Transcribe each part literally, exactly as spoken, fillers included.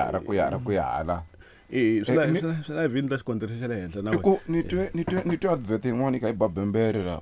ya ra ku ya ra ku ya hala. Eh, swi la Eh, ni- swi la- swi la vhini ta xikontiri xa le henhla na I wena. ku ni twe ni twe ni twe advert yin'wana yi kha yi ba bembere la.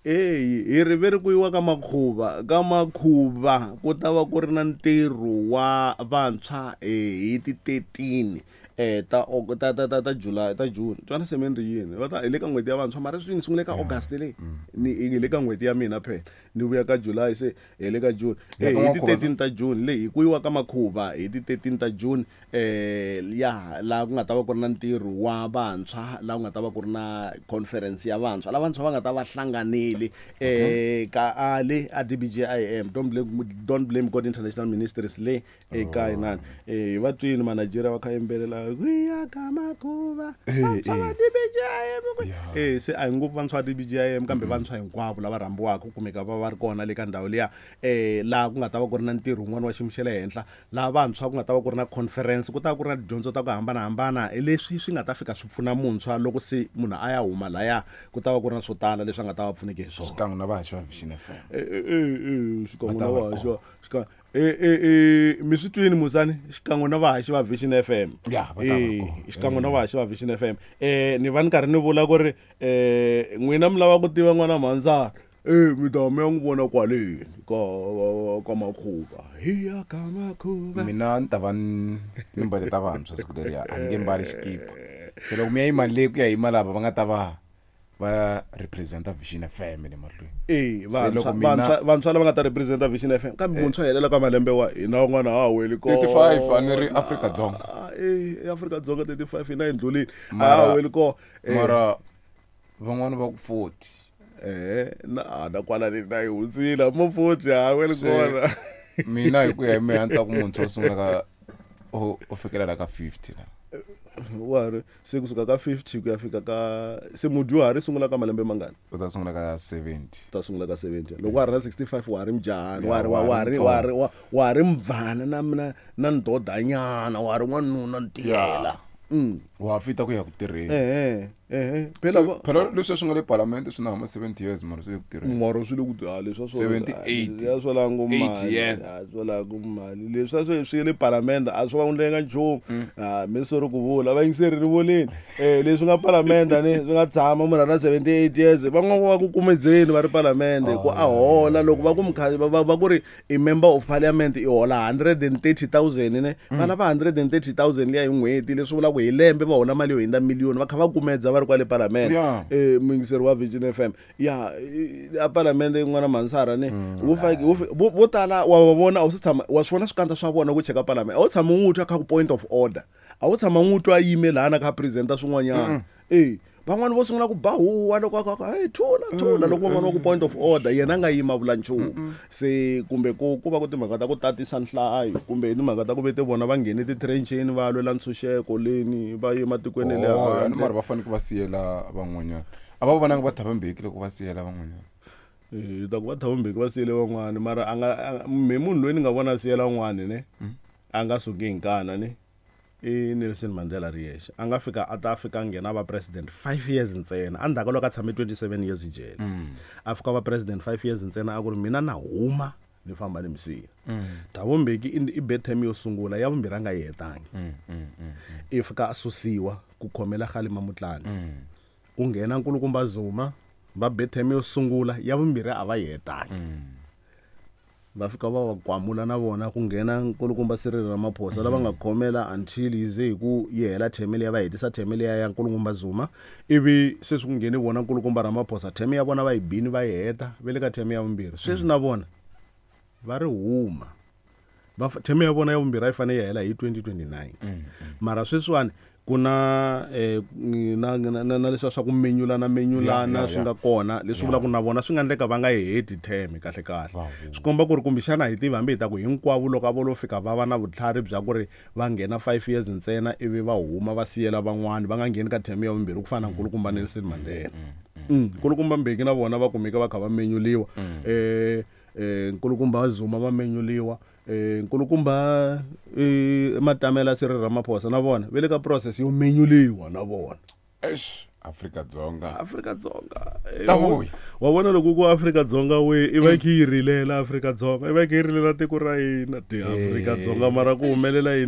Eyi hi ri ve ri ku yiwa ka makhuva ka makhuva ku ta va ku ri na ntirho wa vantshwa eh, hi ti thirteen eh ta Aug- ta ta ta ta July ta June twana se mi ri yini va ta hi le ka n'hweti ya vantshwa mara swi ni sungule ka August leyi ni hi le ka n'hweti ya mina phela ni vuya ka July se hi le ka June Ya eh ka hi ti N'wankhuva thirteen ta June leyi hi ku yiwa ka makhuva hi ti thirteen ta June eh ya laha ku nga ta va ku ri na ntirho wa vantshwa laha ku nga ta va ku ri na conference ya vantshwa laha vantshwa va nga ta va hlanganile eh ka a le a D B J I M don't blame don't blame God International Ministries le eka inani eh va twini ma Nigeria va kha yimbelela ku ya ka makhuva Eh, vantshwa va eh. D B J I M ku- eh se a hi ngopfu vantshwa va D B J I M kambe vantshwa hinkwavo lava rhambiwaka ku kumeka va va ri kona le ka ndhawu liya eh laha ku nga ta va ku ri na ntirho wun'wana wa xiyimo xa le henhla laha vantshwa ku nga ta va ku ri na conference ku ta va ku ri na tidyondzo ta ku hambanahambana leswi swi nga ta fika swi pfuna muntshwa loko se munhu a ya huma laya ku ta va ku ri na swo tala leswi a nga ta va pfuneke hi swona. Xikan'we na vahaxi va Vision F M. Eh, eh, eh, eh, xikan'we Va ta na va ri vahaxi va xikan'we eh, eh, eh, mi swi twini musani xikan'we na vahaxi va Vision F M. Ya, va ta va Eh, kona. xikan'we na vahaxi va Vision F M. Eh, ni va ni karhi ni vula ku ri eh n'wina mi lava ku tiva n'wana mhandzana eh mi ta mi ya n'wi vona kwaleni ka ka makhuva hi ya ka makhuva. Mina ni ta va ni ni mbale ta vantshwa siku leriya a ni nge mbali xikipa. Se loko mi ya yima le ku ya yima lava va nga ta va va representa Vision F M le mahlweni. Eh, Se vantshwa loko mina- vantshwa vantshwa lava nga ta representa Vision F M kambe muntshwa helela ka malembe wa hina van'wana ha weli kona. thirty-five a ni ri Afrika-Dzonga. Ah, eh Afrika-Dzonga thirty-five hina hi ndlulile. A Mara- ha weli kona. Eh, Mara van'wana va ku forty. eh na ah, na kwala ni na yi hundzile mo forty ha weli Se- kona. Mina hi ku ya hi mehe a ni ta ku muntshwa u sungula ka u u fikelela ka fifty la. Wa ri se kusuka ka fifty ku ya fika ka se mudyuhari sungula ka malembe mangani? U ta sungula ka seventy. Ta sungula ka seventy. Loko wa ha ri na sixty-five wa ha ri mujahani, wa ha ri Ya, wa wa ha ri ha ri wa ha ri wa ha ri mubvana na na na ndodanyana, wa ha ri n'wanuna ntiyela. Mm. Wa ha fita ku ya ku tirheni. Eh eh Se, phela va- phela leswi swi nga le palamende swi na hama seventy years mara swi le ku tirheni. mara swi le ku ah, leswi a swo seventy-eight. ya swo langa Eight mali years. ya swo langa mali leswi a swi swi le palamende a swo va endlenga nchumu ah mi sori ku vula va yingiseri ni vulini eh leswi nga palamende ni swi nga tshama munhu a ri na seventy-eight years van'wana va ku kumedzeni va ri palamende ku a hola loko va ku mukha va va- va ku ri i member of parliament i hola hundred and thirty thousand ne va lava hundred and thirty thousand liya hi n'hweti leswi vulaka hi lembe va hola mali yo hundza miliyoni va kha va kumedza va ri kwale palamende. Yeah. Eh muyingiseri wa Vision F M ya eh, a palamende yin'wana Mansara ne wo fa wo fi- vo vo tala wa va vona a wu se tshama wa swi vona swikandza swa vona ku cheka palamende a wu tshama n'wi twa kha ku point of order a wu tshama n'wi twa yime lahana kha presenter swin'wanyana eh van'wani vo sungula ku ba huwa loko a ku hey thula thula loko van'wani va ku point of order yena a nga yima vula nchumu se kumbe ku ku va ku timhaka ta ku tatisa nhlayo kumbe hi timhaka ta ku vete vona va nghene ti-trencheni va lwela ntshunxeko leni va ye matikweni le Oh, handle. mara va fanele ku va siyela van'wanyana. A va vonanga va Thabo Mbeki loko va siyela van'wanyana. Eh, ta ku va Thabo Mbeki va siyele van'wani mara a nga a- me munhu loyi ni nga vona a siyela un'wani ne a nga suki hi nkana ne i Nelson Mandela ri yexe a nga fika a ta fika a nghena va president five years ntsena endzhaku ka loko a tshame twenty-seven years jele a fika va president five years ntsena a ku ri mina na huma ni famba ni misiya. Thabo Mbeki i i be term yo sungula ya vumbirhi a nga yi hetangi i fika a susiwa ku khomela Kgalema Motlanthe ku nghena nkulukumba Zuma va be term yo sungula ya vumbirhi a va yi hetangi va fika va va kwamula na vona ku nghena nkulukumba Cyril Ramaphosa lava nga khomela until yi ze hi ku yi hela term liya va hetisa term liya ya nkulukumba Zuma ivi sweswi ku nghene vona nkulukumba Ramaphosa term ya vona va yi bini va yi heta va le ka term ya vumbirhi sweswi na vona va ri huma va fa- term ya vona ya vumbirhi a yi fanele yi hela hi twenty twenty-nine mara sweswiwani ku na eh, na na na na leswiya swa ku menyulana menyulana Yeah, yeah, swi nga kona leswi vulaka na vona swi nga endleka va nga yi heti term kahle kahle Va huma. swi komba ku ri kumbexana hi tivi hambi hi ta ku hinkwavo loko a vo lo fika va va na vutlhari bya ku ri va nghena five years ntsena ivi va huma va siyela van'wani va nga ngheni ka term ya vumbirhi ku fana na nkulukumba Nelson Mandela. Mm, nkulukumba Mbeki na vona va kumeka va kha va menyuliwa eh eh nkulukumba Zuma va menyuliwa eh nkulukumba eh Matamela Cyril Ramaphosa na vona va le ka process yo menyuliwa na vona. Eish, Afrika-Dzonga. Afrika-Dzonga eh, Ta vuya. wa vona loko ku Afrika-Dzonga we i va yi kha yi rilela Afrika-Dzonga i va yi kha yi rilela tiko ra hina ti Afrika-Dzonga mara ku humelela yini?